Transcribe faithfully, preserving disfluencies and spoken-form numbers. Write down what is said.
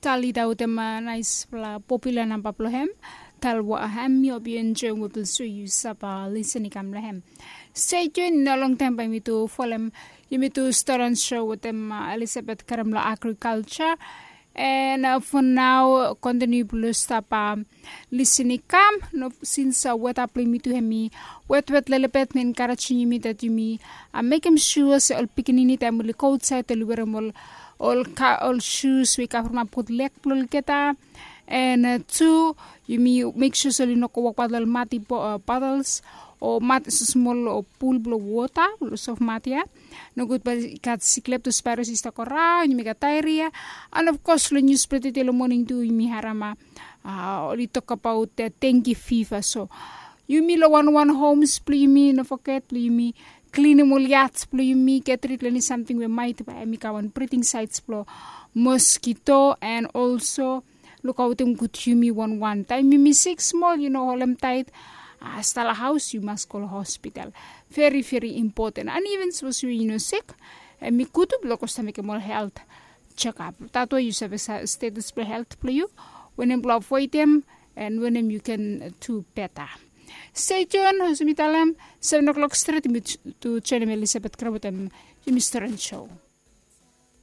Talita wetem naispela popula namba blong hem. Talwa hem, mi hope yu enjoim we blong so yu save lisin i kam long hem. Stay tuned, i no longtaim bae mi tu folem yumi tu start on show wetem Elizabeth Karem long agriculture. And for now, kontiniu blong stap lisin i kam. Sins weta blong yumi tu hem i wetwet lelebet, mi enkarejim yumi dat yumi mekem sua se ol pikinini taim oli go autsaed oli werem ol ol shoes we i kavremap gud leg blong olgeta. And tu yumi mek sua se oli no go wokbaot long ol mati bottles o mat smol o pul blong wota, blong sof mat ya. Nogud bae i gat sik leptospirosis i stap go raon, yumi gat diarrhea. And of course long nius blong tede long moning tu yumi harem oli tok abaot dengue fever. So yumi long wanwan homes blong yumi, no foget blong yumi klinim ol yats blong yumi, get rid long eni samting we maet bae hem i kam on breeding sites blong mosquito. And also lukaotem gud yumi wanwan. Taim yumi sik smol, yu no holem taet, stap long haos, yu mas go long hospital. Veri veri impoten. And even sapos yu no sik, hem i gud tu blong go stap mekem ol helt jekap. Tatwe yu save status blong helt blong yu, wanem blong avoedem, and wanem yu ken tu beta. Stay tuned, olsem mi talem, seven o'clock stret yumi tu joinim Elizabeth Karem wetem yumi start on show.